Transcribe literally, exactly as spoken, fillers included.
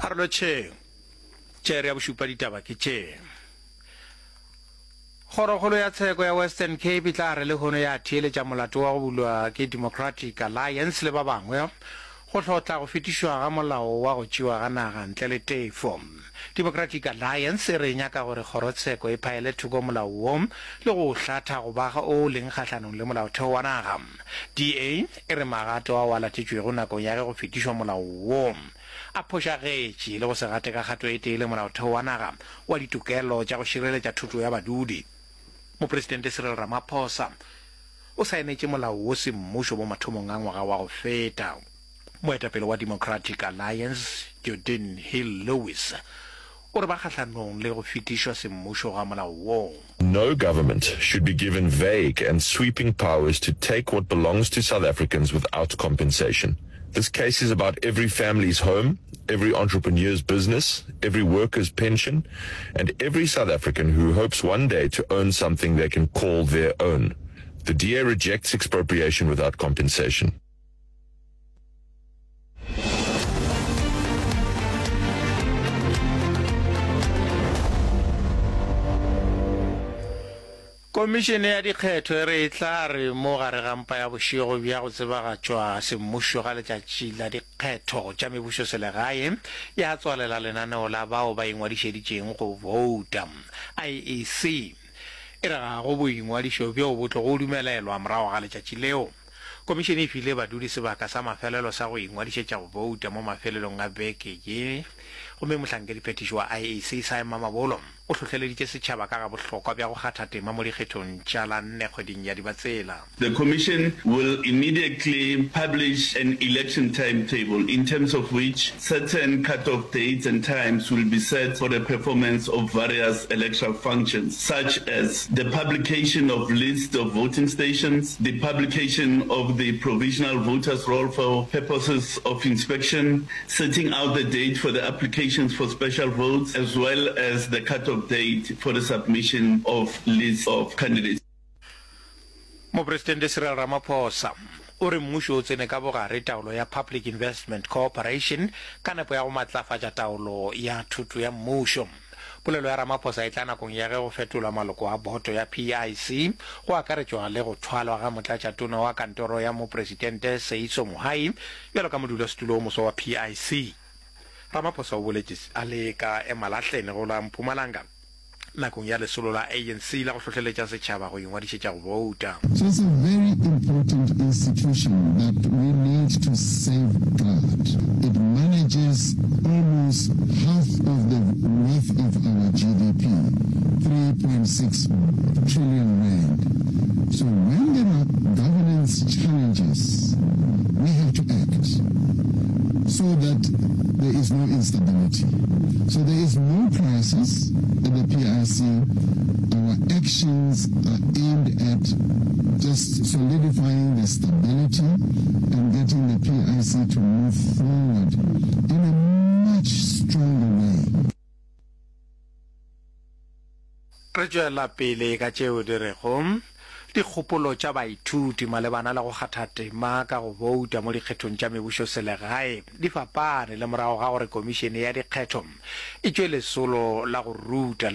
A re lotšheng. Tšere ya bošupa ditaba ke tše. Kgorokgolo ya Tsheko ya Western Cape e tla re lehono ya theeletša molato wa go bulwa ke Democratic Alliance le ba bangwe go hlotla go fetišwa ga molao wa go tšewa ga naga ntle le tefo. Democratic Alliance e re e nyaka gore kgorotsheko e phaele thoko molao wo le go o hlatha go ba o leng kgahlanong le molaotheo wa naga. DA e re magato ao a latetšwego nakong ya ge go fetišwa molao wo a phošagetše le go se gate ka kgato e tee le molaotheo wa naga wa ditokelo tša go šireletša thoto ya badudi. Mopresidente Cyril Ramaphosa o saenetše molao wo semmušo mo mathomong a ngwaga wa go feta. Moetapele wa Democratic Alliance, Geordin Hill-Lewis, o re ba kgahlanong le go fetišwa semmušo ga molao wo. No government should be given vague and sweeping powers to take what belongs to South Africans without compensation. This case is about every family's home, every entrepreneur's business, every worker's pension, and every South African who hopes one day to own something they can call their own. The D A rejects expropriation without compensation. Komišene ya Dikgetho e re e tla re mo gare ga mpa ya bošego bja go tsebagatšwa semmušo ga letšatši la dikgetho tša mebušoselegae ya tswalela lenaneo la bao ba ingwadišeditšeng go bouta. I E C e re ga go boingwadišo bjo bo tlogo dumelelwa morago ga letšatši leo. Komišene e file badudi sebaka sa mafelelo sa go ingwadišetša go bouta mo mafelelong a beke ye gomme mohlankediphethiši wa I E C Simon Mamabolo o hlohleleditše setšhaba ka ga bohlokwa bja go kgatha tema mo dikgethong tša la nne kgweding ya Dibatsela. The Commission will immediately publish an election timetable in terms of which certain cut-off dates and times will be set for the performance of various electoral functions, such as the publication of lists of voting stations, the publication of the provisional voters roll for purposes of inspection, setting out the date for the applications for special votes, as well as the cut-off date for the submission of lists of candidates. Mopresidente Cyril Ramaphosa o re mmušo o tsene ka bogare taolo ya Public Investment Corporation ka nepo ya go matlafatša taolo ya thoto ya mmušo. Polelo ya Ramaphosa e tla nakong ya ge go fetolwa maloko a boto ya P I C go akaretšwa le go thwalwa ga motlatšatona wa kantoro ya mopresidente Seeiso Mohai bjalo ka modulasetulo o moswa wa P I C. Ramaphosa o boletše a le ka Emalahleni go la Mpumalanga nakong ya lesolo la A N C la go hlohleletša setšhaba go ingwadišetša go bouta. So it's a very important institution that we need to safeguard. It manages almost half of the worth of our G D P, three point six trillion rand. So when there are governance challenges, we have to act so that there is no instability. So there is no crisis at the P I C. Our actions are aimed at just solidifying the stability and getting the P I C to move forward in a much stronger way. Re tšwela pele ka tšeo di rego dikgopolo tša baithuti malebana le go kgatha tema ka go bouta mo dikgethong tša mebušoselegae di fapane le morago ga gore komišene ya dikgetho e tšwe lesolo la go ruta le